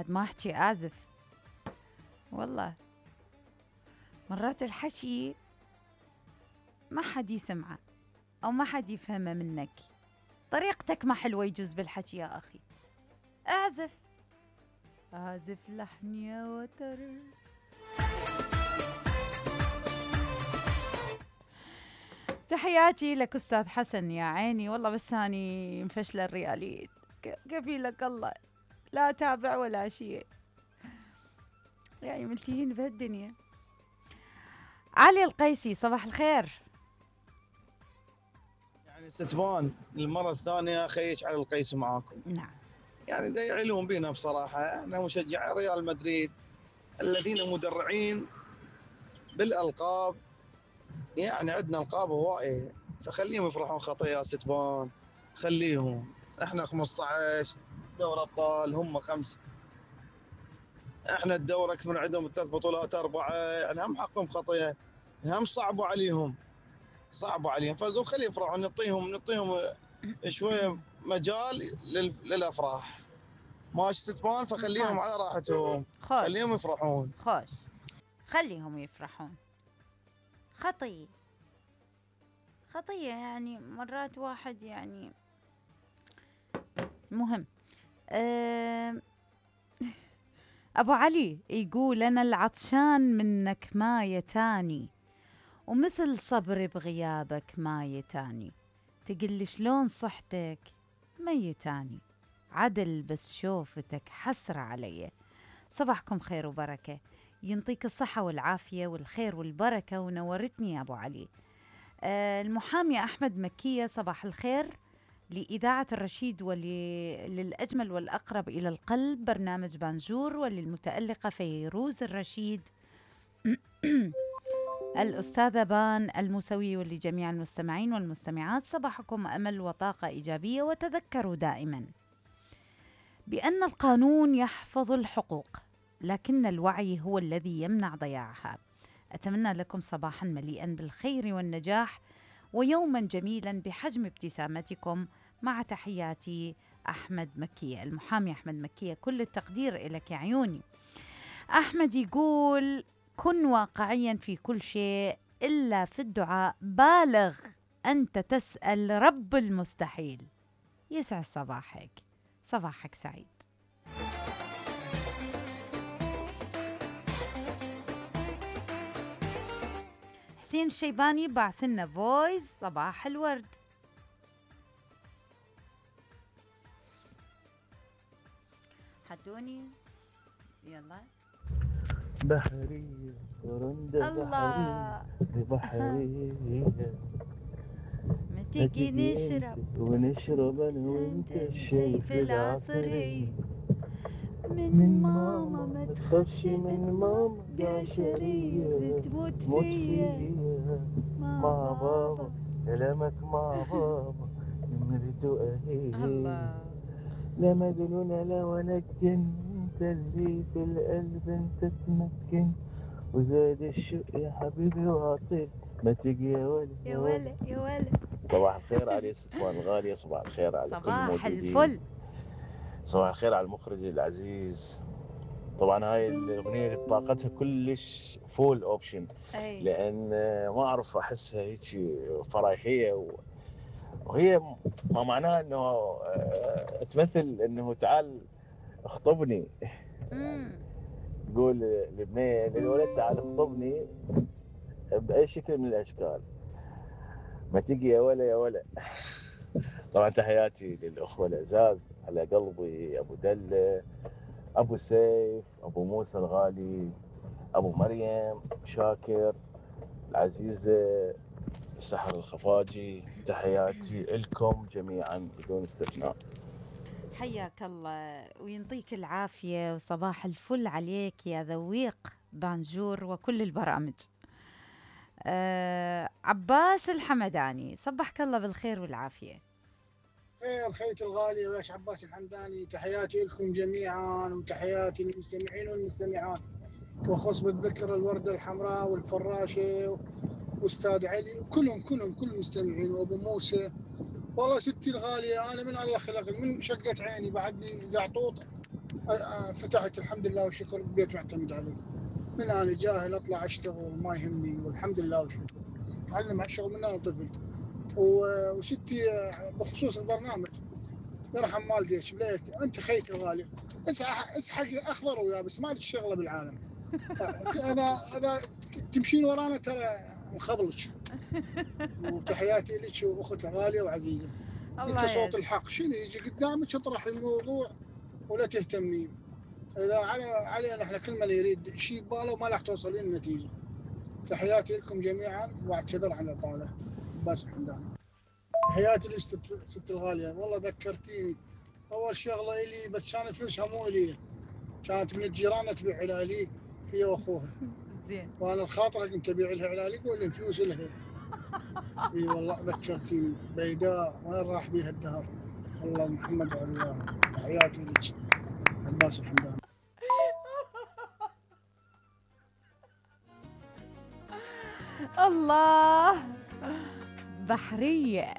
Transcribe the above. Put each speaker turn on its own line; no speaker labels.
بعد ما احكي اعزف. والله مرات الحكي ما حد يسمعه او ما حد يفهمه منك، طريقتك ما حلوة يجوز بالحكي يا اخي. اعزف لحن يا وتر. تحياتي لك أستاذ حسن يا عيني، والله بس هاني مفشلة الرياليين، كفيلك الله لا تابع ولا شيء، يعني ملتهين بهالدنيا. علي القيسي صباح الخير.
يعني ستبان المرة الثانية خيش على القيس معاكم.
نعم.
يعني دا يعلون بينا بصراحة، احنا مشجع ريال مدريد الذين مدرعين بالألقاب، يعني عندنا ألقاب هواية، فخليهم يفرحون خطايا ستبان، خليهم. احنا 15 دوري أبطال، هم 5. احنا الدوري أكثر من عندهم 3 بطولات 4، يعني هم حقهم خطايا، هم صعبوا عليهم. فاقول خلي يفرحون، نعطيهم شويه مجال للافراح. ماشي ستبان، فخليهم على راحتهم، خليهم يفرحون.
خليهم يفرحون. خطية يعني مرات واحد يعني مهم. أبو علي يقول أنا العطشان منك ما يتاني، ومثل صبري بغيابك ما يتاني، تقلي شلون صحتك ميتاني، عدل بس شوفتك حسرة علي. صباحكم خير وبركة، ينطيك الصحة والعافية والخير والبركة، ونورتني يا أبو علي. المحامي أحمد مكية صباح الخير لإذاعة الرشيد وللأجمل والأقرب إلى القلب برنامج بانجور، وللمتألقة فيروز الرشيد الأستاذة بان الموسوي، ولجميع المستمعين والمستمعات صباحكم أمل وطاقة إيجابية. وتذكروا دائما بأن القانون يحفظ الحقوق، لكن الوعي هو الذي يمنع ضياعها. أتمنى لكم صباحا مليئا بالخير والنجاح، ويوما جميلا بحجم ابتسامتكم، مع تحياتي أحمد مكية. المحامي أحمد مكية، كل التقدير إلك يا عيوني. أحمد يقول كن واقعيا في كل شيء إلا في الدعاء، بالغ أنت تسأل رب المستحيل. يسعد صباحك سعيد. حسين الشيباني بعث لنا فويس صباح الورد. حدوني يلا.
بحرية ورندة
الله
بحرية
ما تيجي نشرب
ونشرب أنا وأنت الشاي في العصرية.
من ماما ما تخافش، من ماما قاشرية بتموت فيا
مع بابا كلامك مع بابا نمرته أهي.
الله
لما قالونا لا ولا الجن انت اللي في القلب انت تمكن، وزاد الشوق يا حبيبي وعطير ما تجي يا ولد
يا ولد يا ولد.
صباح الخير على ستوان الغالية، صباح الخير على كل الموجودين،
صباح الفل،
صباح الخير على المخرج العزيز. طبعا هاي الأغنية طاقتها كلش فول اوبشن، لأن ما أعرف أحسها هيك فرايحية، وهي ما معناها أنه تمثل أنه تعال اخطبني. تقول للبنية للولد تعال اخطبني بأي شكل من الأشكال، ما تجي يا ولا يا ولا. طبعا تحياتي للأخوة العزاز على قلبي، أبو دلة، أبو سيف، أبو موسى الغالي، أبو مريم، شاكر، العزيزة سحر الخفاجي، تحياتي لكم جميعا بدون استثناء.
حياك الله وينطيك العافية، وصباح الفل عليك يا ذويق بانجور وكل البرامج. عباس الحمداني صبحك الله بالخير والعافية.
خير خيتي الغالية وياش عباس الحمداني، تحياتي لكم جميعا وتحياتي للمستمعين والمستمعات، وخص بالذكر الوردة الحمراء والفراشة واستاذ علي وكلهم كل المستمعين، وابو موسى. والله ستي الغالية أنا من الله خلقني من شقة عيني بعدني زعطوط فتحت الحمد لله والشكر بيت معتمد عليه. من انا جاهل اطلع اشتغل ما يهمني، والحمد لله والشكر. اتعلم على الشغل من انا طفل. وستي بخصوص البرنامج، يرحم والديك بليت انت خيتي الغالي، اسحق اخضر ويابس ما لك شغله بالعالم. اذا تمشين ورانا ترى نخبلك. وتحياتي لك واختي غاليه وعزيزه. انت
الله
صوت
يعز.
الحق، شنو يجي قدامك اطرح الموضوع ولا تهتمين. اذا علينا احنا كل من يريد شيء بباله وما راح توصلين النتيجه. تحياتي لكم جميعا واعتذر عن الاطاله. عباس الحمداني. تحياتي لك ست الغاليه، والله ذكرتيني. اول شغله الي بس كانت فلوسها مو الي، كانت من الجيران تبيع علاليق هي واخوها.
زين.
وانا الخاطره كنت ابيع لها علاليق ولا الفلوس لها. اي والله ذكرتيني بيداء وين راح بيها الدهر. والله محمد وعلاه. تحياتي لك عباس الحمداني.
الله. بحرية.